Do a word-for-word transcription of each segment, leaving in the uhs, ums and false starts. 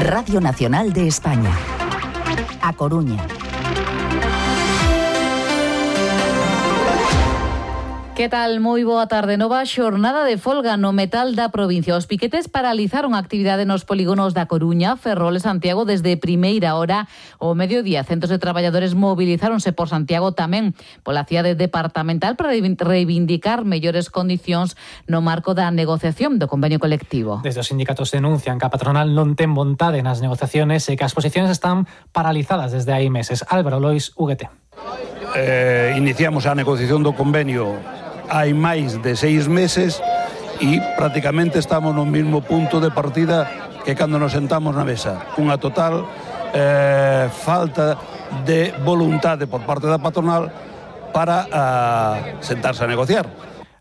Radio Nacional de España. A Coruña. Que tal? Moi boa tarde. Nova xornada de folga no metal da provincia. Os piquetes paralizaron a actividade nos polígonos da Coruña, Ferrol e Santiago desde primeira hora ao mediodía. Centos de traballadores mobilizáronse por Santiago tamén pola cidade departamental para reivindicar mellores condicións no marco da negociación do convenio colectivo. Desde os sindicatos denuncian que a patronal non ten vontade nas negociaciones e que as posicións están paralizadas desde hai meses. Álvaro Lois, U G T. Eh, iniciamos a negociación do convenio hai máis de seis meses e prácticamente estamos no mesmo punto de partida que cando nos sentamos na mesa. Unha total eh, falta de voluntade por parte da patronal para uh, sentarse a negociar.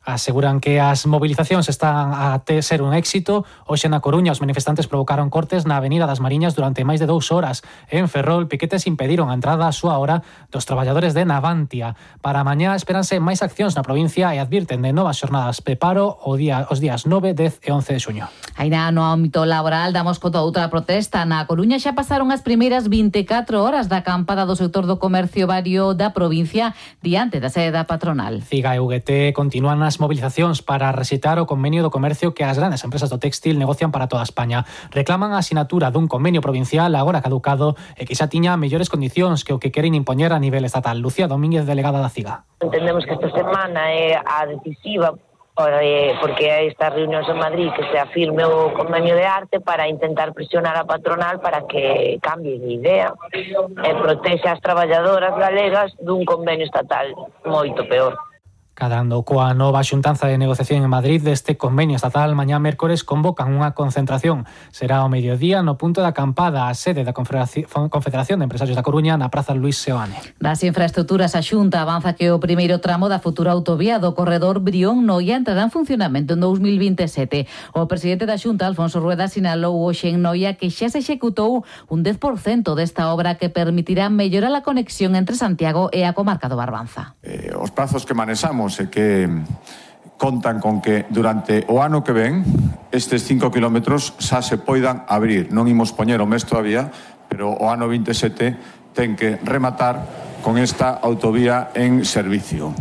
Aseguran que as movilizacións están a ter ser un éxito. Hoxe na Coruña os manifestantes provocaron cortes na Avenida das Mariñas durante máis de dous horas. En Ferrol, piquetes impediron a entrada a súa hora dos traballadores de Navantia. Para mañá esperanse máis accións na provincia e advirten de novas xornadas de paro o día, os días nove, dez e once de xuño. Aínda no ámbito laboral damos conta outra protesta. Na Coruña xa pasaron as primeiras vinte e catro horas da acampada do sector do comercio vario da provincia diante da sede da patronal. Ciga e U G T continúan as movilizacións para recitar o convenio do comercio que as grandes empresas do téxtil negocian para toda España. Reclaman a asinatura dun convenio provincial agora caducado e que xa tiña mellores condicións que o que queren impoñer a nivel estatal. Lucía Domínguez, delegada da Ciga. Entendemos que esta semana é a decisiva porque hai estas reunións en Madrid que se afirme o convenio de arte para intentar presionar a patronal para que cambie de idea e protexe as traballadoras galegas dun convenio estatal moito peor. Cadando coa nova xuntanza de negociación en Madrid deste convenio estatal, mañá mércores convocan unha concentración. Será ao mediodía no punto da acampada a sede da Confederación de Empresarios da Coruña na Praza Luis Seoane. Das infraestructuras, a Xunta avanza que o primeiro tramo da futura autovía do corredor Brión-Noia entrará en funcionamento en dous mil vinte e sete. O presidente da Xunta, Alfonso Rueda, sinalou hoxe en Noia que xa se executou un dez por cento desta obra que permitirá mellorar a conexión entre Santiago e a comarca do Barbanza. Eh, os prazos que manexamos e que contan con que durante o ano que ven estes cinco kilómetros xa se poidan abrir. Non imos poñer o mes todavía, pero o ano vinte e sete ten que rematar con esta autovía en servicio.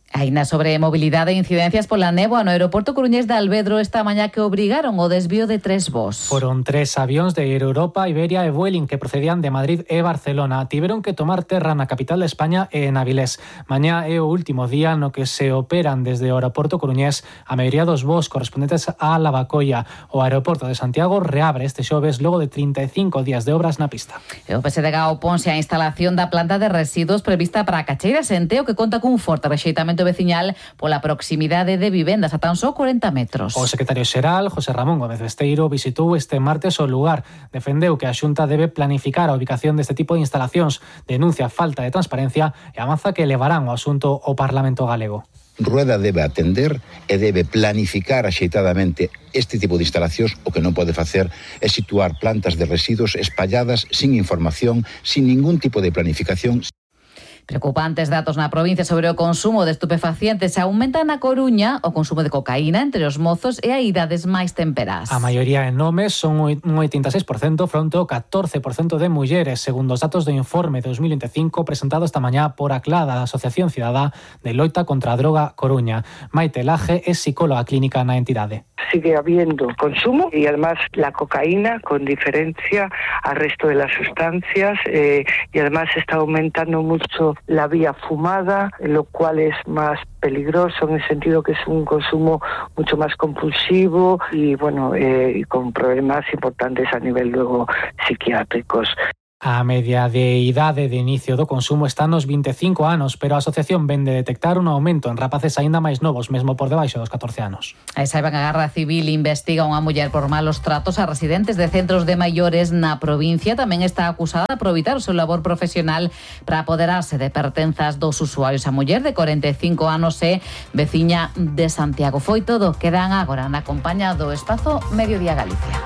Aínda sobre mobilidade e incidencias pola néboa no aeroporto coruñés de Alvedro esta mañá que obrigaron o desvío de tres voos. Foron tres avións de Air Europa, Iberia e Vueling que procedían de Madrid e Barcelona. Tiveron que tomar terra na capital de España e en Avilés. Mañá é o último día no que se operan desde o aeroporto coruñés a maioría dos voos correspondentes a Lavacolla. O aeroporto de Santiago reabre este xoves logo de trinta e cinco días de obras na pista. E o P S D G oponse á instalación da planta de residuos prevista para Cacheiras en Teo, que conta cun forte rexeitamento veciñal pola proximidade de vivendas a tan só corenta metros. O secretario xeral, José Ramón Gómez Besteiro, visitou este martes o lugar. Defendeu que a Xunta debe planificar a ubicación deste tipo de instalacións, denuncia a falta de transparencia e avanza que levarán o asunto ao Parlamento galego. Rueda debe atender e debe planificar axeitadamente este tipo de instalacións. O que non pode facer é situar plantas de residuos espalladas sin información, sin ningún tipo de planificación. Preocupantes datos na provincia sobre o consumo de estupefacientes. Aumenta na Coruña o consumo de cocaína entre os mozos e a idades máis temperas. A maioría en homes son un oitenta e seis por cento fronte ao catorce por cento de mulleres, segundo os datos do informe dos mil vinte e cinco presentado esta mañá por a CLADA, da Asociación Cidadá de Loita contra a Droga Coruña. Maite Laje é psicóloga clínica na entidade. Sigue habiendo consumo y además la cocaína, con diferencia al resto de las sustancias, eh, y además está aumentando mucho la vía fumada, lo cual es más peligroso en el sentido que es un consumo mucho más compulsivo y bueno, eh, con problemas importantes a nivel luego psiquiátricos. A media de idade de inicio do consumo está nos vinte e cinco anos, pero a asociación ven de detectar un aumento en rapaces aínda máis novos, mesmo por debaixo dos catorce anos. A saiba que a Garda Civil investiga unha muller por malos tratos a residentes de centros de maiores na provincia. Tamén está acusada de aproveitar o seu labor profesional para apoderarse de pertenzas dos usuarios. A muller de corenta e cinco anos é veciña de Santiago. Foi todo. Quedan agora na compañía do Espazo Mediodía Galicia.